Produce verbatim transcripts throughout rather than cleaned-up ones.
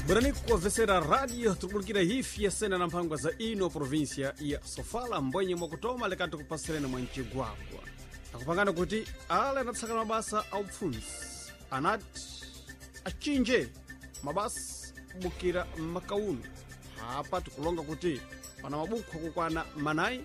Bwerani kuwavesera radio tikubulikira hifi yasena na mphangwa za ino província ya Sofala mbwenye mwakutoma lekati kupasireni mwa mcigwagwa akupangana kuti ale anatsakana mabasa a upfunzi anati achinje mabasa kubukira makauno apa tikulonga kuti pana mabukho akukwana manayi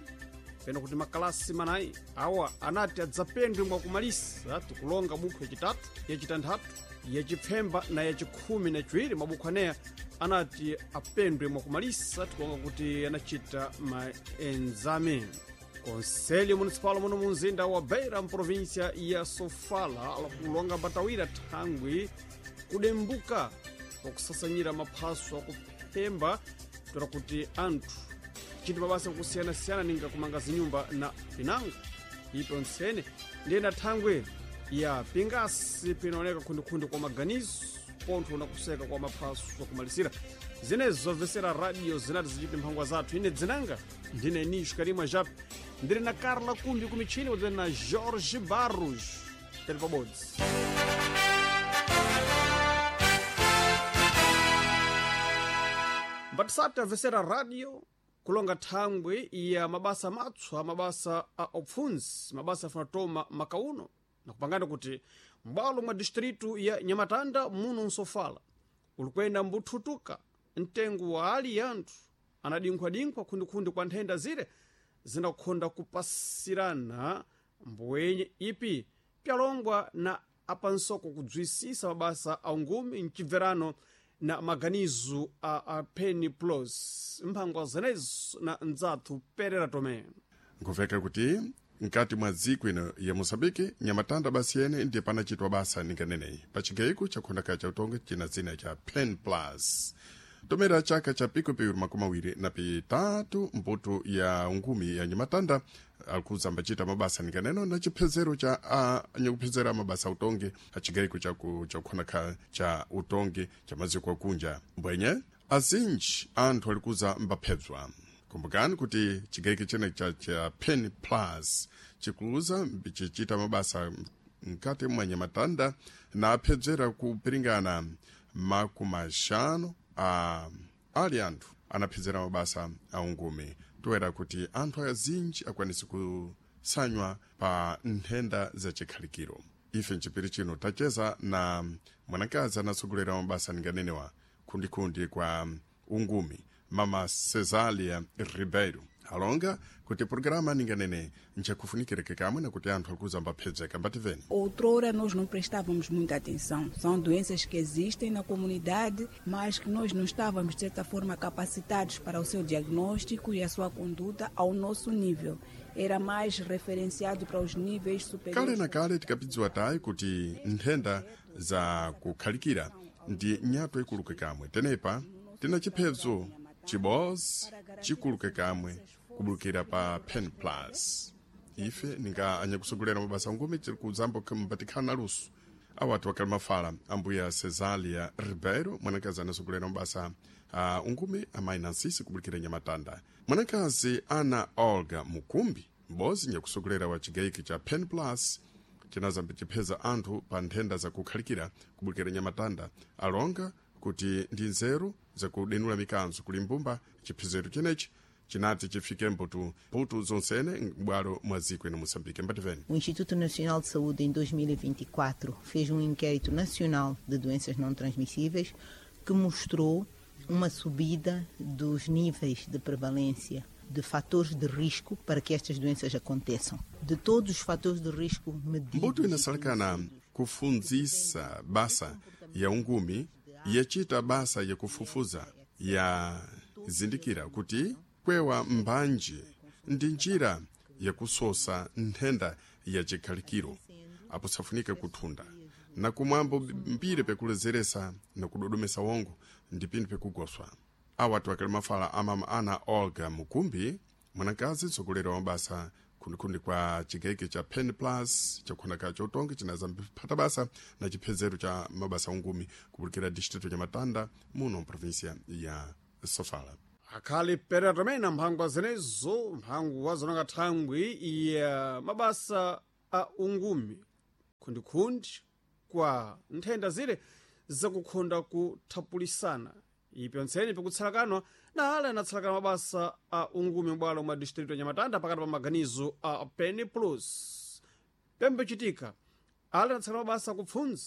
pena kuti makalasi manayi awa anati adzapendwe mwakumalisa tikulonga bukho yacitatu yacitanthatu yacipfemba na yacikhumi na ciwiri mabukho aneya anati apendwe mwakumalisa tikulonga kuti anacita maenzame konselho municipal muno munzinda wa beira mprovíncia ya sofala alakulonga mbatawira thangwi kudembuka pakusasanyira maphaso akuphemba toera kuti anthu chiti mabasa akusiyana-siyana ninga kumanga zinyumba na pinango ipo ntsene ndiyena thangwi ya pingasi pinaoneka khundikhundi kwa maganizo pontho na kuseka kwa maphaso akumalisira zinezo zobvesera radio zinati zichiti mphangwa zathu ine dzinanga ndine nisho karimwa jape ndiri na carla kumbi kumichini kudzene na jorge barros tili pabodzi mbatisati amvesera radio kulonga thangwi ya mabasa matswa mabasa a upfunzi mabasa afunatoma makauno nakupangana kuti m'bwalo mwa distritu ya nyamatanda muno nsofala ulikwenda mbuthutuka mtengo wa ali ya anthu anadinkhwadinkhwa khundikhundi kwa nthenda zire zinakhonda kupasirana mbwenye ipi pyalongwa na apansoko kudzwisisa mabasa a ungumi mcibverano na maganizo a, a penny plus mphangwa zenezo na ndzathu perera tomé nkuveka kuti mkati mwa dziko ino ya moçambique nyamatanda basi yene ndiye panachitwa basa ninganeneyi pacigayiko chakhondakhala cha utongi china dzina cha pen plus tomera chaka cha pikupiwiri makumi awiri na pitatu mbuto ya ngumi ya nyamatanda alikuza ambacita mabasa ninganeno na chiphezero cha anyakuphezera mabasa utongi acigayiko chakukhonakhala cha utongi cha maziko akunja mbwenye azinji anthu alikuza mbaphedzwa kumbukani kuti chigayiko chene cha, cha pen plus chikuluza chichita mabasa mkati mwa nyamatanda na aphedzera kupiringana makumi axanu a ali anthu anaphedzera mabasa a ungumi toera kuti anthu azinji akwanise kusanywa pa nthenda za chikhalikiro ife mchipiri chino tacheza na mwanakazi anatsogolera mabasa ninganenewa khundikhundi kwa ungumi mama cesalia ribeiro alonga kuti programa ninganene nchakufunikireke kamwe na kuti anthu alikuza mbaphedzeka mbativeni Outrora nós não prestávamos muita atenção. São doenças que existem na comunidade, mas que nós não estávamos, de certa forma, capacitados para o seu diagnóstico e a sua conduta ao nosso nível. Era mais referenciado para os níveis kale superiores. na kale tikapidziwa tayi kuti nthenda za kukhalikira ndi nyato ikuluke kamwe tenepa tina chiphedzo chibozi chikuluke kamwe kubulukira pa pen plus ife ninga anyakusogolera mabasa ngumi tiri kuzambo mbatikhala na luso awati wakali mafala ambuya cesalia ribeiro mwanakazi anasogolera mabasa a ungumi amayi nansisi kubulukira nyamatanda mwanakazi ana olga mukumbi m'bozi nyakusogolera wa chigayiki cha pen plus chinazambi chipheza anthu pa nthenda zakukhalikira kubulukira nyamatanda alonga kuti ndi nzeru zakudenula mikanzo kuli mbumba chiphezero chenechi chinati chifike mbutu mbutu zonsene m'bwalo mwa dziko ino moçambique mbativeni O Instituto Nacional de Saúde, em dois mil e vinte e quatro, fez um inquérito nacional de doenças não transmissíveis que mostrou uma subida dos níveis de prevalência de fatores de risco para que estas doenças aconteçam. De todos os fatores de risco medidos. Mbuto inasalekana kufunzisa basa ya ungumi yachita basa yakufufuza yazindikira kuti kwewa mbanji ndi njira yakusosa nthenda ya chikhalikiro apo safunike kuthunda na kumwambo mbiri pekulezeresa na kudodomesa wongo ndi pinthu pekugoswa awatu akali mafala amama ana olga mukumbi mwanakazi mtsogoleri wa mabasa khundikhundi kwa chigayiko cha pen plus chakukhonakhala chotongi chinazamphata basa na chiphezero cha mabasa ungumi kubulikira distrito cha matanda muno mprovinsia ya sofala akhali perera tomé na mphangwa zenezo mphangwa zonanga thangwi ya mabasa a ungumi khundikhundi kwa nthenda zire zakukhonda kuthapulisana Ipyontseni pikutsalakana na ale anatsalakana mabasa a ungumi m'bwalo mwa distrito ya Nyamatanda pakati pa maganizo a Pen Plus. Pembe chitika ale anatsalakana mabasa akupfunza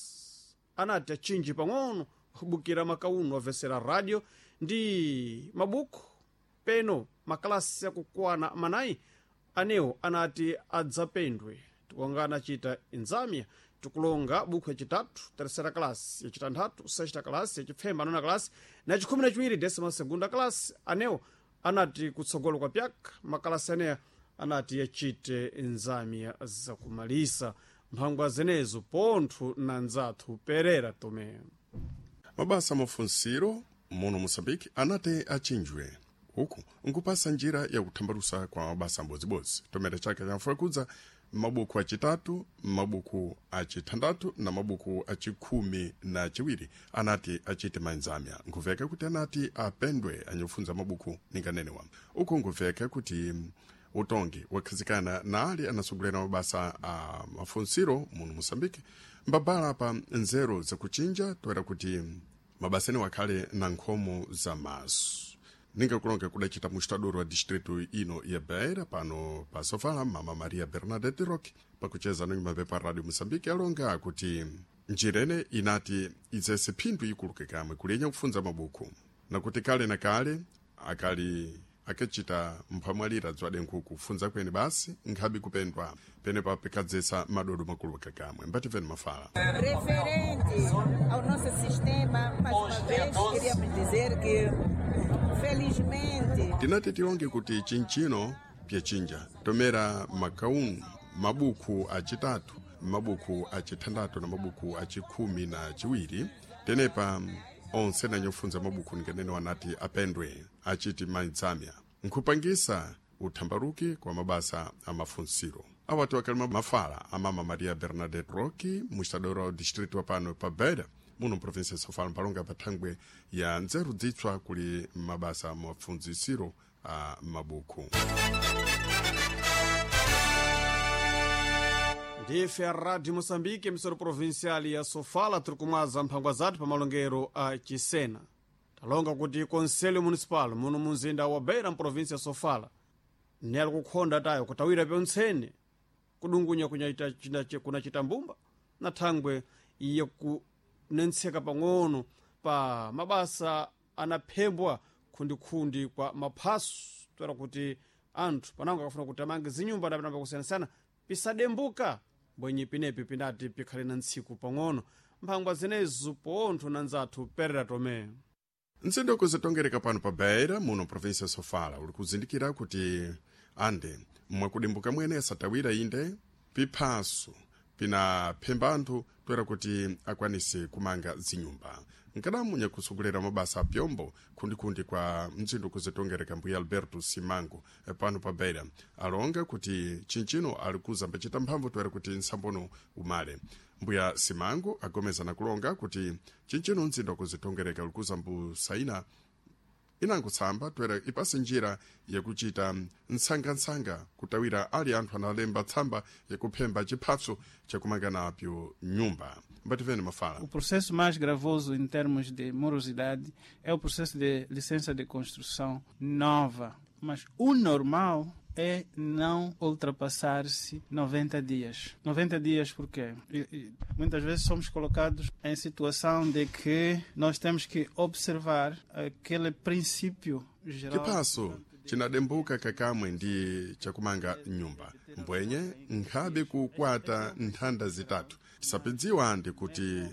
anati achinji pang'ono kubukira makauno avesera radio ndi mabuku peno makalasi akukwana manayi anewo anati adzapendwe. Tikonga anachita inzamia tikulonga buku yacitatu terceira classe, yacitanthatu sexta classe, yacipfemba nona classe na cikhumi na ciwiri décima segunda classe. Anewo anati kutsogolo kwa pyaka makalasi aneya anati yacite inzamia zakumalisa mphangwa zenezo pontho na nzathu Perera Tomé. Mabasa mafunsiro muno Moçambique anati achinjwe uku nkupasa njira yakuthambalusa kwa mabasa ambodzibodzi tomera chaka chamfakudza mabuku acitatu, mabuku acithandathu na mabuku acikhumi na ciwiri anati acite manzamya. Nkuveka kuti anati apendwe anyofunza mabuku ninganenewa. Uku nkuveka kuti utongi wakhazikana na ali anasogolera mabasa a mafunsiro muno Moçambique mbabala pa nzeru zakuchinja toera kuti mabasa ene wakhale na nkhomo za maso. Ningakulonga kudacita mustadoro wa distrito ino ya Beira pano pa Sofala, mama Maria Bernadette Roque pakucheza no mapepa Radio Moçambique alonga kuti njira ene inati idzese phindu ikuluke kamwe kulenya kufunza mabuku nakuti kale na kale akali akachita mphamwalira dzwade nkhuku kufunza kwene basi nkhabi kupendwa penepa pikadzesa madodo makulu kakamwe. Mbativeni mafala. Referente ao nosso sistema, mais uma vez queríamos dizer que felizmente tinati tilonge kuti chinchino pyachinja tomera makaunu mabuku acitatu, mabuku acithandathu na mabuku acikhumi na ciwiri tenepa onse nanyofunza mabuku ninganene wanati apendwe aciti maidzamya nkhupangisa uthambaluki kwa mabasa a mafunsiro. Awati wakalima mafala a mama Maria Bernadette Roque mustadoro wa distrito wa pano pa Beira muno mprovinsia ya Sofala mpalonga pa thangwe ya nzeru dzitswa kuli mabasa mafunzisiro a mabuku. Ndife a Rádio Moçambique, emissora provincial ya Sofala, tiri kumwaza mphangwa zathu pa malongero a Chisena. Talonga kuti Conselho Municipal muno munzinda wa Beira mprovinsia ya Sofala ne ali kukhonda tayo kutawira pyontsene kudungunya kunyaita china kunacita mbumba na thangwe iye kunentseka pang'ono pa mabasa anaphembwa khundikhundi kwa maphaso toera kuti anthu panango akafuna kuti amange zinyumba ndapinamba kusiyanasiyana pisadembuka mbwenye pinepi pinati pikhale na ntsiku pang'ono. Mphangwa zenezo pontho na nzathu Perera Tomé. Mzinda kuzitongereka pano pa Beira muno provinsia ya Sofala uli kuzindikira kuti ande mwakudimbuka mwene asatawira inde piphaso pinaphemba anthu toera kuti akwanise kumanga zinyumba. Nkadamu nyakusogolera mabasa a pyombo khundikhundi kwa mzinda kuzitongereka mbuya Alberto Simango pano pa Beira alonga kuti chinchino ali kuzambacita mphamvu toera kuti nsambono umale. Mbuya Simango agomeza na kulonga kuti chinchino mzinda kuzitongereka uli kuzambusaina inangotsamba toera ipase njira yakuchita nsangansanga kutawira ali anthu analemba tsamba yakuphemba chiphatso chakumanga napyo nyumba. Mbativeni mafala. O processo mais gravoso em termos de morosidade é o processo de licença de construção nova. Mas o normal é não ultrapassar-se noventa dias. noventa dias porquê? E, e, muitas vezes somos colocados em situação de que nós temos que observar aquele princípio geral. Chiphaso chinadembuka kakamwe ndi chakumanga nyumba mbwenye nkhabe kukwata nthanda zitatu. Tisapidziwa ndi kuti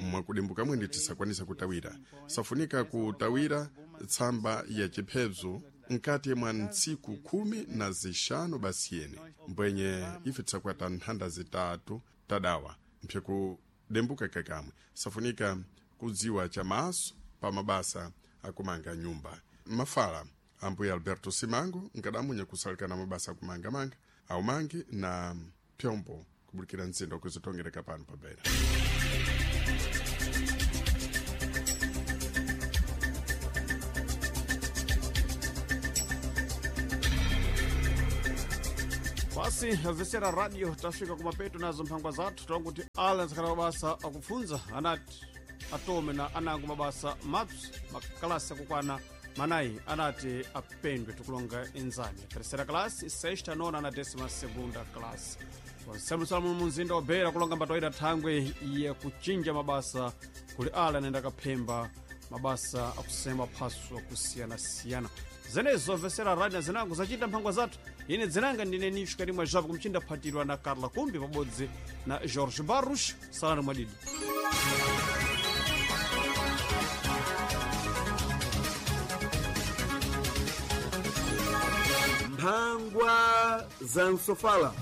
mwakudimbuka mwene tisakwanisa kutawira. Safunika kutawira tsamba ya chiphezo nkati mwa ntsiku khumi na zixanu basiyene mbwenye ife tisakwata nthanda zitatu tadawa mphyakudembuka kakamwe. Safunika kudziwa chamaso pa mabasa akumanga nyumba. Mafala ambuya Alberto Simango nkadamunya kusalikana mabasa akumangamanga aumangi na pyombo kubulikira mzinda kuzitongereka pano pa Beira. Basi avesera radio tafika kumapeto nazo mphangwa zathu tonguti ala nzakhala mabasa akupfunza anati atome na anango mabasa mapsa makalasi akukwana manayi anati apendwe tikulonga enzani terceira classe, sexta, nona na décima segunda classe. Onsemusala muno munzinda wa Beira kulonga mbatoita thangwe ya kuchinja mabasa kuli ala anayenda kaphemba mabasa akusema phaso akusiyana-siyana. Zenezo vesera radi na zinango zacita mphangwa zathu. Ine dzinanga ndine Nisho Karimwa Java kumchinda phatirwa na Carla Kumbi pabodzi na Jorge Barros. Salani mwadidi. Mphangwa za msofala.